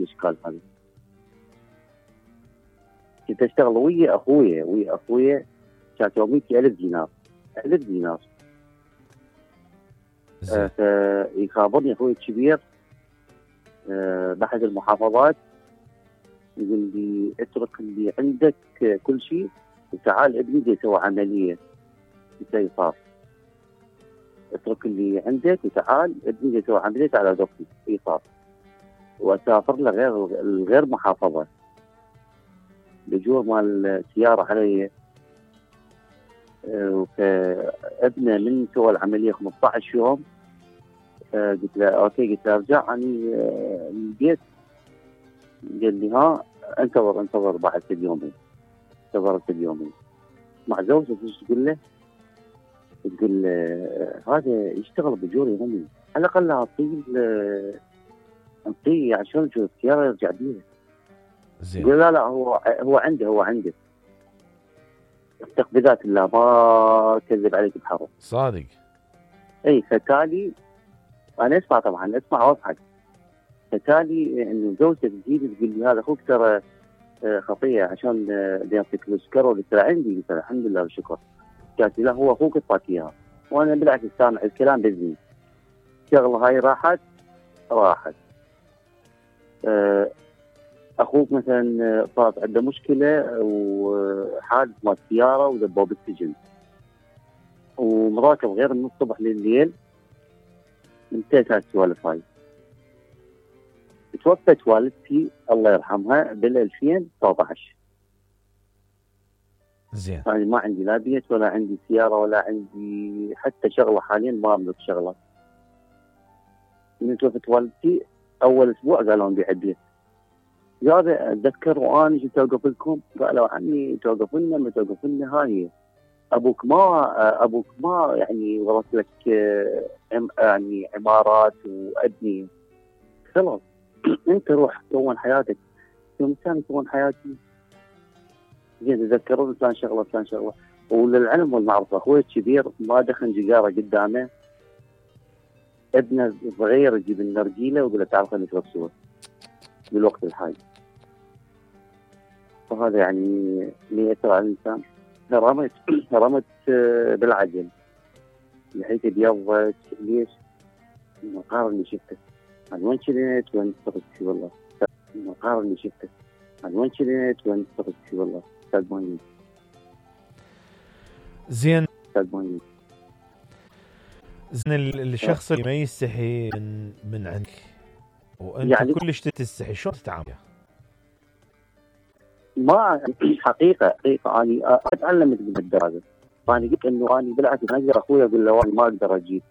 الاشكال هذا. كنت اشتغل ويا اخويا كانت يوميتي 1000 دينار 1000 دينار. فيخابرني اخوي الكبير باحد المحافظات، يقول لي اترك اللي عندك كل شيء وتعال ابني بدي يسوي عمليه استئصال. اترك اللي عندك وتعال ابني بدي يسوي عمليه على ضغطي استئصال، واسافر له غير محافظه. بجور مال السياره علي. فابنه من سوى العمليه 15 يوم قلت له اوكي، قلت له ارجع اني البيت. قال لي ها انتظر بعد اليومين. انتظرت اليومين مع زوجته. ايش تقول له؟ تقول هذا يشتغل بجور يومي، على الاقل اعطيه عشان يشوف السياره يرجع بيها. زين. يقول لا هو عنده اتق بذات الله ما كذب عليك بحرف. صادق. اي فتالي انا اسمع واضحك. فتالي انه زوجته تجيني تقول لي هذا اخوك ترى خطيه عشان بيعطيك فلوس كرو. قلت له عندي. قلت له الحمد لله والشكر. قالت لي لا هو اخوك اعطاك اياها، وانا بالعكس سامع الكلام باذني. الشغله هاي راحت. اخوك مثلا صارت عنده مشكله وحادث مال سياره ودبوه بالسجن، ومراكب غير من الصبح لليل. انتهت السوالف هاي. توفت والدتي الله يرحمها بال 2019. زين. يعني ما عندي لا بيت ولا عندي سياره ولا عندي حتى شغله. حاليا ما املك شغله. من توفت والدتي اول اسبوع قالوا نبيع البيت. هذا اتذكر وانا جيت اوقف لكم قالوا عني توقف لنا ما توقف لنا. هاي ابوك ما يعني ورث لك يعني عمارات وابني خلاص. انت روح كون حياتك. يوم كان كون حياتي زين تذكرون فلان شغله. وللعلم والمعرفه اخوي الكبير ما دخن جيجاره قدامه، ابنه صغير يجيب النرجيله ويقول له تعال خلينا نشرب سوا بالوقت الحالي. فهذا يعني اللي يأثر على الانسان. رمت بالعجل لحيته بيضت. ليش؟ المقار اللي شفته عن وين شريت وين صرت فيه والله. المقار اللي شفته عن وين شريت وين صرت فيه والله. استاذ زين. الشخص اللي ما يستحي من عندك وانت يعني كلش تستحي، شلون تتعامل؟ ما حقيقه اني اتعلمت بالدرجه. فانا قلت انه اني بالعكس اقدر اخوي اقول له ما اقدر اجيب.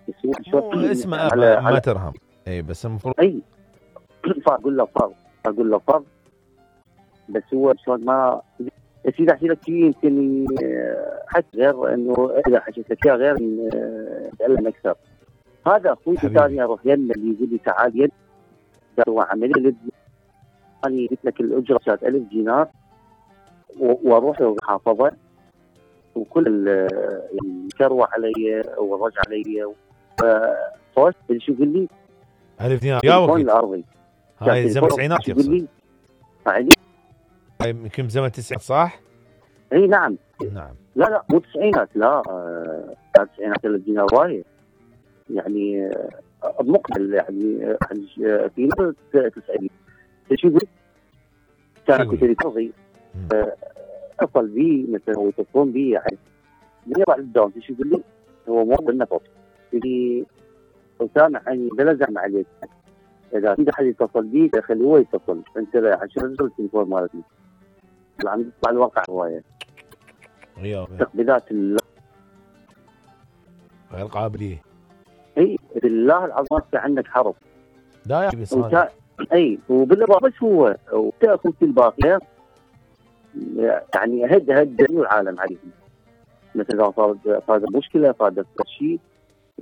اسمه ما ترهم. اي بس المفروض فاقول له فرض. بس هو شلون ما اذا احكي لك شيء يمكن حتى غير انه اذا حكيت لك غير اتعلم اكثر. هذا اخوي ثاني اروح يمه اللي يقول لي تعال يد سوى عمليه. انا قلت لك الاجره كانت 1000 دينار واروح المحافظه وكل الكروه علي والرجع علي. فوش شو يقول لي 1000 دينار يا وقت الارضي هاي زمن التسعينات يقول لي هاي يمكن زمن التسعينات صح؟ اي نعم. لا مو تسعينات. لا كانت تسعينات 1000 دينار وايد يعني مقبل يعني في نص 90. شو يقول كان كنت ارضي اتصل بي مثلا ويتصلون بي يعني من يطلع الدوام. شو يقول لي هو مو بالنفط. يقول لي سامع اني بلزم عليك اذا في احد يتصل بي خليه هو يتصل انت عشان التليفون مالتي. عم يطلع الواقع هوايه تقبيلات الله غير قابليه. اي بالله العظيم عندك حرب. لا يعني بس اي وبالله بس هو وتاخذ الباقي يعني هد العالم عليهم. مثلا صار مشكله صار شيء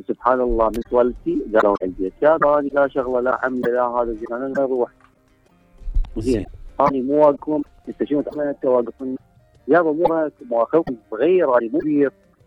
سبحان الله من والدتي قالوا عندي يا راني لا شغله لا عمله لا هذا زين انا اروح زين اني مو واقفكم انت شنو تعمل انت واقفني يابا مو اخوكم صغير اني مو كبير